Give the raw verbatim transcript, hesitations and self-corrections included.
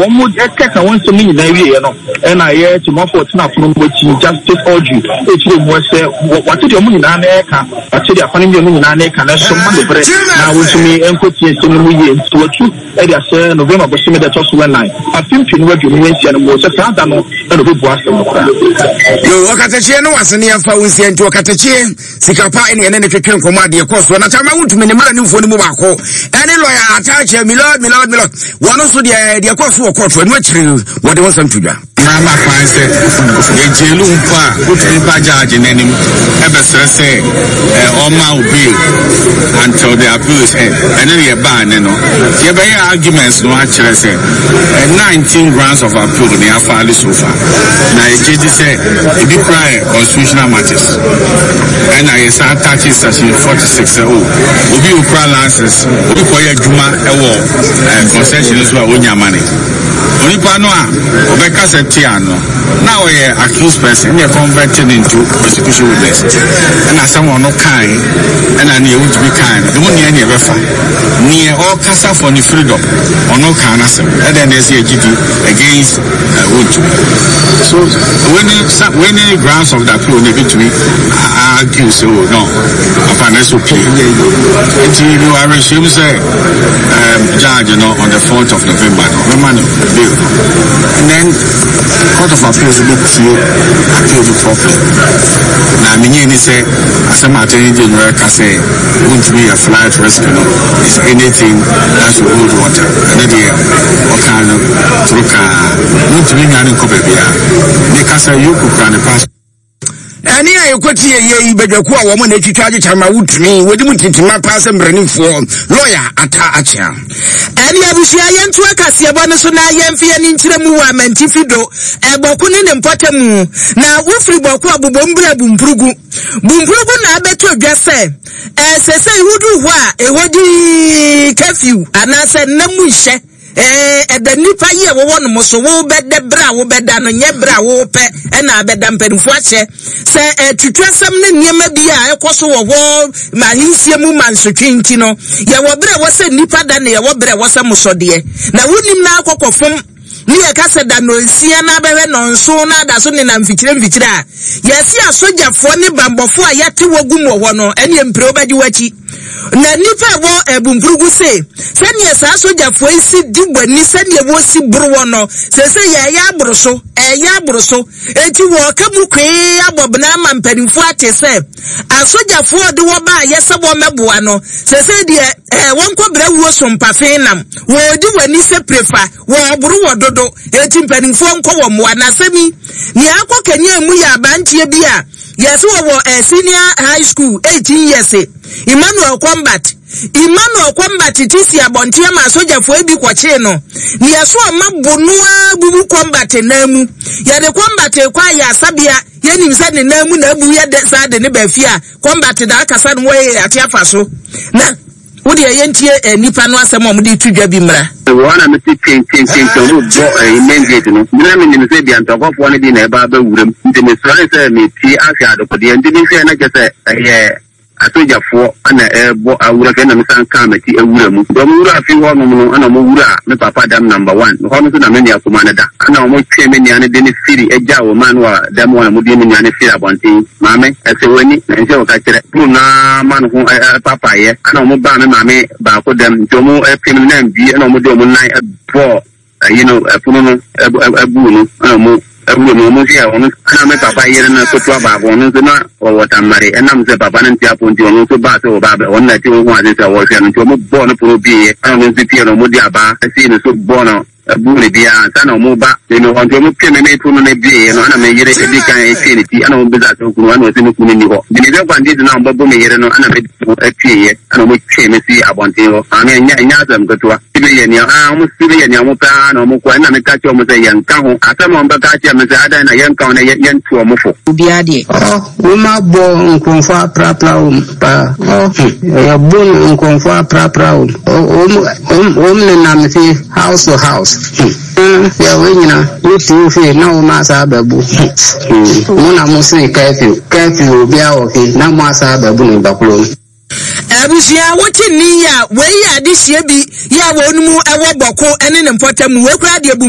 Wɔn kɛka wɔn nsɛm no nyinaa wieɛ no, ɛna ɛyɛ temafoɔ ɔtena apono no akyi, Justice Audrey, ɛkyerɛ mu sɛ wate deɛ wɔn nyinaa na ɛka, wate deɛ afa no mmienu nyinaa na ɛka, na ɛso ma ne berɛ na wɔntumi nkɔtie nsɛm no mu yie. Nti watu de ahyɛ November bosome da ɛtɔ so nnan, afe mpenu aduonu nsia no mu, sɛ saa da no na ɔbɛbu asɛm no koraa. Yo, ɔkatakyie no wase ne yɛmfa wo nsia nti ɔkatakyie sika pa ɛne ɛne ne twetwe nkɔmmɔ adeɛ kɔ soɔ na kyama wotumi ne mmaranimfoɔ no mu baako ɛne lɔya ataakyɛ milord milord milord wɔn nso deɛ deɛ kɔ so wɔ kɔɔto ɛno akyire wɔde wɔn nsɛm to dwa. Mmara kwan sɛ yɛgyeelu mpo a, wotumi ba gyaagye n'anim ɛbɛsrɛ sɛ ɔma wo bail until the appeal is heard. Ɛne ne yɛbaa ne no yɛbɛyɛ arguments no akyerɛ sɛ nineteen grounds of appeal ne yɛafile so far, na yɛgye di sɛ ebi koraa yɛ constitutional matters, ɛna yɛsan attach section forty-six sɛ o obi okura license, obi kɔyɛ adwuma ɛwɔ concession so a onya money, onipa no a ɔbɛka sɛ tia no na ɔyɛ accused person, ɛna converted into prosecution witness, ɛna asɛm ɔno kan ɛna nea ewutumi kan no emu nea nea ɛbɛfa nea ɔkasa for ne freedom, ɔno kan n'asɛm ɛdɛn na ɛsɛ yɛgye di against wotumi. So wei ne wei ne grounds of the appeal na ebitumi argue sɛ o no papa na ɛsɛ opie. Nti mi wɔ awerɛhyɛm sɛ judge no on the fourth of November no ɔbɛma no bail, and then Court of Appeals bɛ tie appeal no properly, na menye ni sɛ asɛm Attorney General ka sɛ wontumi yɛ flight risk no is anything that should hold water. Ɛne deɛ ɔka no toro kaa wontumi nwane nkɔ baabiara ne kasa yoko kura ne pass. Ɛne a yɛkɔtie yɛ yi badwakuo a wɔn na atwitwa agye kyama wotumi wɔdi mu ntintima paa sɛ mmaranimfoɔ lɔya Ata Akyea. Ɛne abusua, yɛnto akaseɛbɔ no so na yɛmfe yɛne nkyerɛ mu wɔ amantifi do ɛbɔko ne ne mpɔta mu. Na wofiri Bɔko a bobom berɛ Bumpurugu Bumpurugu na abɛtɔ dwa sɛ ɛsɛ sɛ woduru hɔ a ɛhɔ di curfew anaasɛ nna mu nhyɛ ɛda nipa yi a wɔwɔ no mo so. Wobɛda berɛ a wobɛda no nyɛ berɛ a wopɛ ɛna abɛda. Mpanimfoɔ ahyɛ sɛ ɛtutu asɛm ne nneɛma bi a ɛkɔ so wɔ hɔ ma ahensie mu ma nsotwe, nti no yɛwɔ berɛ wɔ sɛ nipa da na yɛwɔ berɛ wɔ sɛ mosɔdeɛ na wonim na akɔkɔ fom ne yɛka sɛ da nonsia na abɛhwɛ nɔnso na ada so nenam mfikyire mfikyire a yɛsi asogyafoɔ ne bambɔfoɔ a yɛte wɔ gum wɔ hɔ no, ɛne mpire wobɛgye w'akyi. Na nipa ɛwɔ ɛbumpurugu se sɛnea saa sogyafoɔ yi si di w'ani, sɛnea wɔsi boro wɔ no sɛsɛ yɛɛyɛ aboro so, ɛyɛ aboro so, eti wɔɔka mu kwee abɔ bena ama mpanimfoɔ ate sɛ asogyafoɔ de wɔ ba a yɛsɛ wɔn mɛboa no sɛsɛ deɛ ɛɛ wɔn kɔ brɛ wuo so mpafe nam wɔɔdi w'ani sɛ prefa wɔɔboro wɔ dodo, eti mpanimfoɔ nkɔ wɔ mmoa. Na asɛm yi nea akɔ kanya mu yɛ abanteɛ bi a yɛsɛ wɔwɔ ɛ senior high school, eighteen years, Emmanuel Combat. Emmanuel Combat ti si abɔnten ama asogyafoɔ bi kɔkyee no ne yɛso ɔma bonoa bubu Combat nan mu. Yɛde Combat kɔ ayɛ asabea, yɛnim sɛ ne nan mu na abu yɛ de saa de ne baafi a Combat da akasa no wɔyɛ ate afa so. Na wode ɛyɛ ntie eh, nipa no asɛm a wɔde to dwa bi mmra. Wɔ na mete kyenkyenkyenkyen ɔmo bɔ ɛyi main gate no mi na menim sɛ bia ntɔkwafoɔ no bi na ɛba abɛwura mu, nti mesɔre sɛ metie ahwɛ adekodeɛ, nti mehwɛ na kyɛ sɛ ɛyɛ asogyafoɔ ana ɛbɔ awura fɛ, na mesan kaa m'akyi awura mu. Nti ɔmo wura fi hɔnom no, ɛna ɔmo wura me papa dam number one hɔ no nso na me nua kuma no da, ɛna ɔmo twe me nua no de ne firi agya wɔ man wɔ dɛm hɔ, na mo de me nua no firi abɔnten. Maame ɛsɛ w'ani na nhyɛ wɔka kyerɛ kuro naa ma no ho papayɛ, ɛna ɔmo baa me maame baako dɛm, nti ɔmo ɛpem no na mbie, ɛna ɔmo de ɔmo nan ɛbɔɔ ayi no ɛpono no ɛbu no, ɛna ɔmo ɛwura mu. Ɔmo nso yɛ ɔno ɛna me papa yere no ketewa baako, ɔno nso na ɔwɔ Tamale, ɛnam sɛ papa no nte apo nti ɔno nso baa sɛ ɔba abɛ ɔno na ɛte ho ase sɛ ɔhwɛ no, nti ɔmo bɔɔ no pono bie, ɛna ɔno nso pie no ɔmo de abaa ɛsi no so bɔɔ no ɛbu ne biara ansa na ɔmo ba ne hɔ. Nti ɔmo pie me me pono no bie no, ɛna me yere edi kan etwie ne ti, ɛna ɔmo bisa sɛ okunu, ɛna ɔsi ne kunu ni hɔ, nti ne sɛ kwan ti na ɔmo bɛbɔ me yere no, ɛna me atwie yɛ, ɛna ɔmo twe me si abɔnten hɔ. Maame, ɛnyɛ ɛnyɛ asɛm ketewa si bi yɛ nea aa ɔmo si bi yɛ nea ɔmo pɛ aa na ɔmo kɔ, ɛna meka kyerɛ ɔmo sɛ yɛnka ho asɛm a ɔmo bɛka kyerɛ me sɛ adan na yɛnka ho na yɛ yɛntu ɔmo fo. Obiara deɛ. Ɔ woma bɔ nkurɔfoɔ aprapra wɔm paa. Ɔ yɛbo no nkurɔfoɔ aprapra wɔm. Wɔm wɔm nenam fie house to house. Yɛ wei nyina wotu fie na wɔn asa abɛbu mo na mo se curfew curfew, obiara wɔ fie na mo asa abɛbu no bakuro. Abusua, wote nne yi a, wei yɛ adehyeɛ bi yɛ a wɔn mu wɔ Bɔko ne ne mpɔtam. Wei koraa deɛ bu